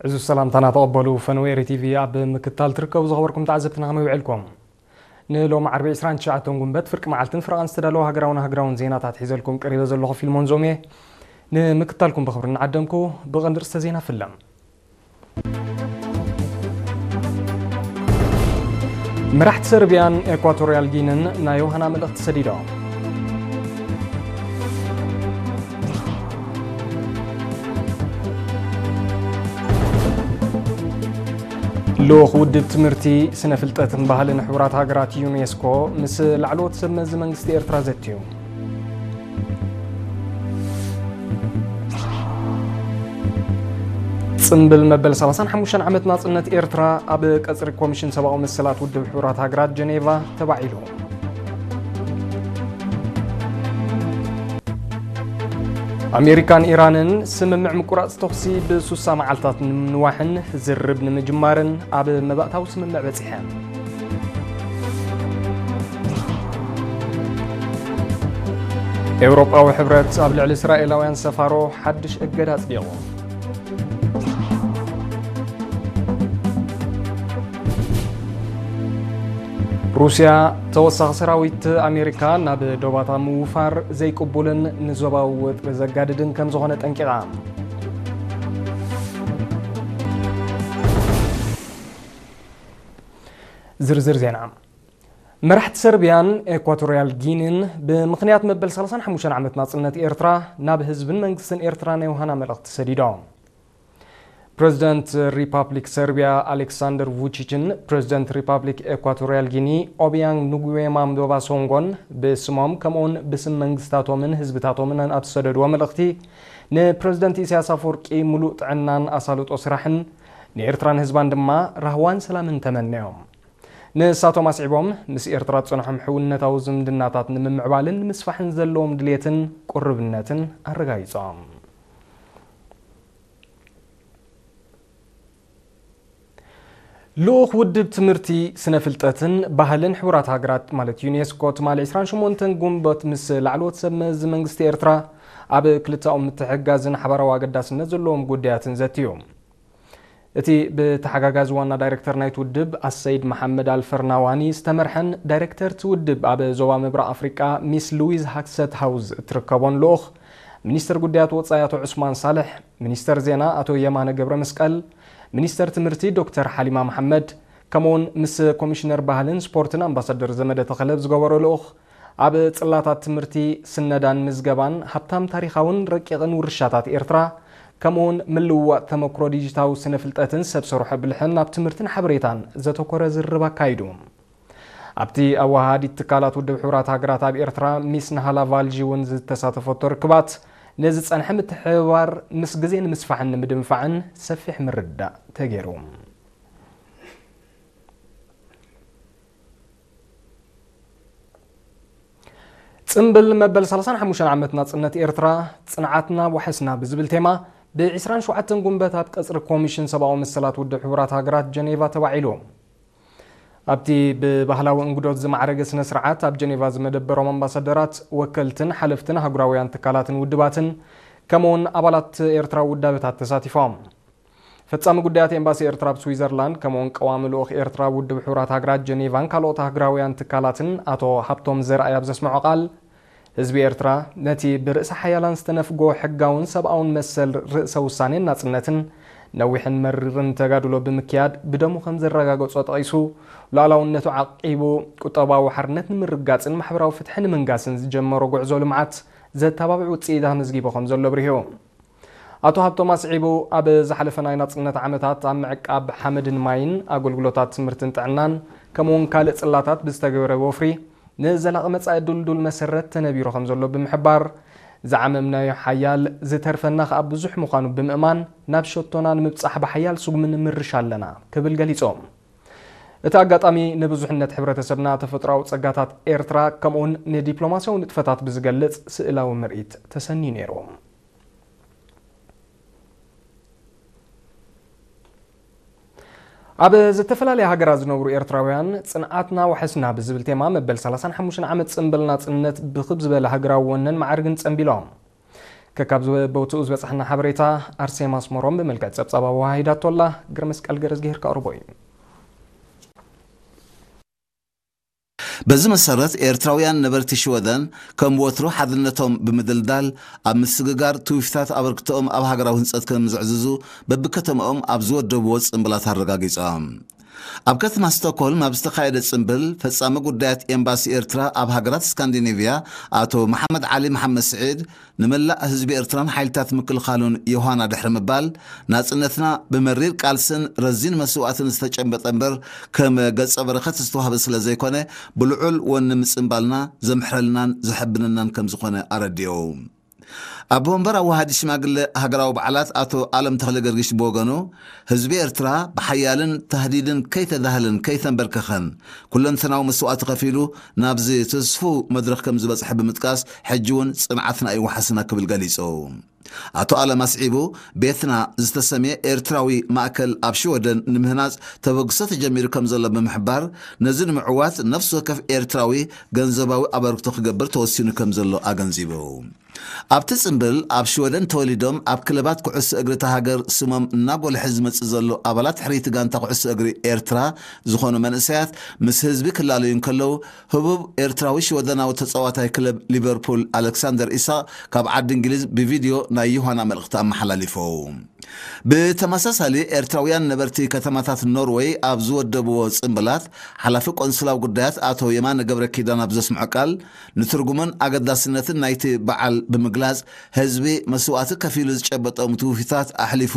እዚ ሰላምታና ተቐበሉ። ፈነወ ኤሪ ቲቪ ኣብ ምክታል ትርከቡ ዝኸበርኩም ተዓዘብትና ከመይ ውዕልኩም? ንሎሚ ዓርቢ ዕስራን ትሽዓተን ጉንበት ፍርቂ መዓልትን ፍረቓን ዝተዳለወ ሃገራውን ሃገራውን ዜናታት ሒዘልኩም ቀሪበ ዘለኹ ፊልሞን ዞም እየ። ንምክታልኩም ብኽብሪ እናዓደምኩ ብቐንዲ ርእስተ ዜና ፍለም። መራሕቲ ሰርቢያን ኤኳቶርያል ጊንን ናይ ዮሃና መልእኽቲ ሰዲዶም። ልኡኽ ውድብ ትምህርቲ፣ ስነ ፍልጠትን ባህልን ሕቡራት ሃገራት ዩኔስኮ ምስ ላዕለዎት ሰብ መዚ መንግስቲ ኤርትራ ዘትዩ። ጽምብል መበል ሰላሳን ሓሙሽተን ዓመት ናጽነት ኤርትራ ኣብ ቀጽሪ ኮሚሽን ሰብኣዊ መሰላት ውድብ ሕቡራት ሃገራት ጀኔቫ ተባዒሉ። ኣሜሪካን ኢራንን ስምምዕ ምቁራጽ ተኹሲ ብሱሳ መዓልታት ንምንዋሕን ዝርርብ ንምጅማርን ኣብ መባእታዊ ስምምዕ በጺሐን። ኤውሮጳዊ ሕብረት ኣብ ልዕሊ እስራኤላውያን ሰፋሮ ሓድሽ እገዳ ኣጽዲቑ። ሩስያ ተወሳኺ ሰራዊት ኣሜሪካ ናብ ዶባታ ምውፋር ዘይቅቡልን ንዞባዊ ወጥሪ ዘጋድድን ከም ዝኾነ ጠንቂቓ። ዝርዝር ዜና። መራሕቲ ሰርቢያን ኤኳቶርያል ጊኒን ብምኽንያት መበል ሰላሳን ሓሙሽተን ዓመት ናጽነት ኤርትራ ናብ ህዝብን መንግስትን ኤርትራ ናይ ውሃና መልእኽቲ ሰዲዶም። ፕረዚደንት ሪፓብሊክ ሰርቢያ ኣሌክሳንደር ቩቺችን ፕረዚደንት ሪፓብሊክ ኤኳቶርያል ጊኒ ኦቢያንግ ኑጉዌማ ምዶባ ሶንጎን ብስሞም ከምኡውን ብስም መንግስታቶምን ህዝብታቶምን ኣብ ዝሰደድዎ መልእኽቲ፣ ንፕረዚደንት ኢሳያስ ኣፈወርቂ ምሉእ ጥዕናን ኣሳልጦ ስራሕን ንኤርትራን ህዝባን ድማ ራህዋን ሰላምን ተመነዮም። ንሳቶም ኣስዒቦም፣ ምስ ኤርትራ ዝጸንሖም ሕውነታዊ ዝምድናታት ንምምዕባልን ንምስፋሕን ዘለዎም ድሌትን ቅርብነትን ኣረጋጊጾም። ልኡኽ ውድብ ትምህርቲ፣ ስነ ፍልጠትን ባህልን ሕቡራት ሃገራት ማለት ዩኔስኮ ትማሊ ዕስራን ሸሞንተን ጉንበት ምስ ላዕለዎት ሰብ መዚ መንግስቲ ኤርትራ ኣብ ክልተኣዊ ምትሕግጋዝን ሓባራዊ ኣገዳስነት ዘለዎም ጉዳያትን ዘትዩ። እቲ ብተሓጋጋዚ ዋና ዳይሬክተር ናይቲ ውድብ ኣሰይድ መሓመድ ኣልፈርናዋኒ ዝተመርሐን ዳይሬክተር እቲ ውድብ ኣብ ዞባ ምብራቕ ኣፍሪቃ ሚስ ሉዊዝ ሃክሰት ሃውዝ እትርከቦን ልኡኽ ሚኒስትር ጉዳያት ወጻኢ ኣቶ ዑስማን ሳልሕ፣ ሚኒስተር ዜና ኣቶ የማነ ገብረ መስቀል፣ ሚኒስተር ትምህርቲ ዶክተር ሓሊማ መሓመድ፣ ከምኡውን ምስ ኮሚሽነር ባህልን ስፖርትን ኣምባሳደር ዘመደ ተኸለ ዝገበሮ ልኡኽ፣ ኣብ ጽላታት ትምህርቲ፣ ስነዳን ምዝገባን፣ ሃብታም ታሪኻውን ረቂቕን ውርሻታት ኤርትራ፣ ከምኡውን ምልውዋጥ ተመክሮ ዲጂታዊ ስነ ፍልጠትን ሰብ ሰርሖ ብልሕን ኣብ ትምህርትን ሓበሬታን ዘተኮረ ዝርርብ ኣካይዱ። ኣብቲ ኣወሃሃዲት ትካላት ውድብ ሕቡራት ሃገራት ኣብ ኤርትራ ሚስ ናሃላ ቫልጂ እውን ዝተሳተፈቶ ርክባት፣ ነዚ ጸንሐ ምትሕብባር ምስ ግዜ ንምስፋሕን ንምድንፋዕን ሰፊሕ ምርድዳእ ተገይሩ። ጽምብል መበል ሰላሳን ሓሙሽተን ዓመት ናጽነት ኤርትራ፣ ጽንዓትና ዋሕስና ብዝብል ቴማ፣ ብ ዕስራን ሸውዓተን ጉንበት ኣብ ቀጽሪ ኮሚሽን ሰብኣዊ መሰላት ውድብ ሕቡራት ሃገራት ጀኔቫ ተባዒሉ። ኣብቲ ብባህላዊ እንግዶት ዝማዕረገ ስነ ስርዓት፣ ኣብ ጀኔቫ ዝመደበሮም ኣምባሳደራት፣ ወከልትን ሓለፍትን ኣህጉራውያን ትካላትን ውድባትን፣ ከምኡውን ኣባላት ኤርትራዊ ውዳበታት ተሳቲፎም። ፈጻሚ ጉዳያት ኤምባሲ ኤርትራ ኣብ ስዊዘርላንድ፣ ከምኡውን ቀዋሚ ልኡኽ ኤርትራ ኣብ ውድብ ሕቡራት ሃገራት ጀኔቫን ካልኦት ኣህጉራውያን ትካላትን ኣቶ ሃብቶም ዘርኣይ ኣብ ዘስምዖ ቃል፣ ህዝቢ ኤርትራ ነቲ ብርእሰ ሓያላን ዝተነፍጎ ሕጋውን ሰብኣውን መሰል ርእሰ ውሳኔን ናጽነትን ነዊሕን መሪርን ተጋድሎ ብምክያድ ብደሙ ከም ዘረጋገጾ ጠቒሱ፣ ሉዓላውነቱ ዓቂቡ ቁጠባዊ ሓርነት ንምርጋጽን ማሕበራዊ ፍትሒ ንምንጋስን ዝጀመሮ ጉዕዞ ልምዓት ዘተባብዕ ውጽኢት ኣመዝጊቡ ከም ዘሎ ኣብሪሁ። ኣቶ ሃብቶም ኣስዒቡ፣ ኣብ ዝሓለፈ ናይ ናጽነት ዓመታት ኣብ ምዕቃብ ሓመድን ማይን፣ ኣገልግሎታት ትምህርትን ጥዕናን፣ ከምኡውን ካልእ ጽላታት ብዝተገበረ ወፍሪ፣ ንዘላቒ መጻኢ ድልዱል መሰረት ተነቢሩ ከም ዘሎ ብምሕባር፣ ዝዓመምናዮ ሓያል፣ ዝተርፈና ከኣ ብዙሕ ምዃኑ ብምእማን፣ ናብ ሸቶና ንምብጻሕ ብሓያል ስጉሚ ንምርሽ ኣለና ክብል ገሊጹ። እቲ ኣጋጣሚ ንብዙሕነት ሕብረተሰብና፣ ተፈጥሮኣዊ ጸጋታት ኤርትራ፣ ከምኡውን ንዲፕሎማስያዊ ንጥፈታት ብዝገልጽ ስእላዊ ምርኢት ተሰንዩ ነይሩ። ኣብ ዝተፈላለያ ሃገራት ዝነብሩ ኤርትራውያን፣ ጽንዓትና ዋሕስና ብዝብል ቴማ መበል ሰላሳን ሓሙሽተን ዓመት ጽምብል ናጽነት ብኽብ ዝበለ ሃገራዊ ወነን ማዕርግን ጸምቢሎም። ከካብ ቦትኡ ዝበፅሐና ሓበሬታ ኣርሴማ ኣስመሮም ብመልክዕ ፀብፃብ ኣወሃሂዳቶ ኣላ። ግርመስቀል ገረዝጊሄር ከቕርቦ እዩ። በዚ መሰረት ኤርትራውያን ነበርቲ ሽወደን ከም ወትሩ ሓድነቶም ብምድልዳል ኣብ ምስግጋር ትውፊታት ኣበርክቶኦም ኣብ ሃገራዊ ህንፀት ከም ዘዕዝዙ በብከተማኦም ኣብ ዝወደብዎ ጽምብላት ኣረጋጊጾም። ኣብ ከተማ ስቶክሆልም ኣብ ዝተኻየደ ጽምብል ፈጻሚ ጉዳያት ኤምባሲ ኤርትራ ኣብ ሃገራት ስካንዲኔቭያ ኣቶ መሓመድ ዓሊ መሓመድ ስዒድ ንመላእ ህዝቢ ኤርትራን ሓይልታት ምክልኻሉን ዮሃና ድሕሪ ምባል ናጽነትና ብመሪር ቃልስን ረዚን መስዋእትን ዝተጨበጠ እምበር ከም ገጸ በረኸት ዝተዋህበ ስለ ዘይኮነ ብልዑል ወኒ ምጽምባልና ዘምሕረልናን ዘሐብነናን ከም ዝኾነ ኣረዲኡ። ኣቦ ወንበር ኣዋሃዲ ሽማግለ ሃገራዊ በዓላት ኣቶ ኣለም ተኽለ ገርጊሽ ብወገኑ ህዝቢ ኤርትራ ብሓያልን ታህዲድን ከይተዳህለን ከይተንበርከኸን ኩለንተናዊ መስዋእቲ ከፊሉ ናብዚ ትስፉው መድረኽ ከም ዝበጽሐ ብምጥቃስ ሕጂ እውን ጽንዓትና እዩ ዋሕስና ክብል ገሊጹ። ኣቶ ኣለም ኣስዒቡ ቤትና ዝተሰምየ ኤርትራዊ ማእከል ኣብ ሽወደን ንምህናጽ ተበግሶ ተጀሚሩ ከም ዘሎ ብምሕባር ነዚ ንምዕዋት ነፍሲ ወከፍ ኤርትራዊ ገንዘባዊ ኣበርክቶ ክገብር ተወሲኑ ከም ዘሎ ኣገንዚቡ። ኣብቲ ጽምብል ኣብ ሽወደን ተወሊዶም ኣብ ክለባት ኩዕሶ እግሪ እታ ሃገር ስሞም እናጎልሐ ዝመጽእ ዘሎ ኣባላት ሕርይቲ ጋንታ ኩዕሶ እግሪ ኤርትራ ዝኾኑ መንእሰያት ምስ ህዝቢ ክላለዩ እንከለዉ ህቡብ ኤርትራዊ ሽወደናዊ ተጻዋታይ ክለብ ሊቨርፑል ኣሌክሳንደር ኢሳቕ ካብ ዓዲ እንግሊዝ ብቪድዮ ናይ ዮሃና መልእኽቲ ኣመሓላሊፉ። ብተመሳሳሊ ኤርትራውያን ነበርቲ ከተማታት ኖርወይ ኣብ ዝወደብዎ ጽምብላት ሓላፊ ቆንስላዊ ጉዳያት ኣቶ የማነ ገብረ ኪዳን ኣብ ዘስምዖ ቃል ንትርጉምን ኣገዳስነትን ናይቲ በዓል ብምግላጽ ህዝቢ መስዋእቲ ከፊሉ ዝጨበጦም ትውፊታት ኣሕሊፉ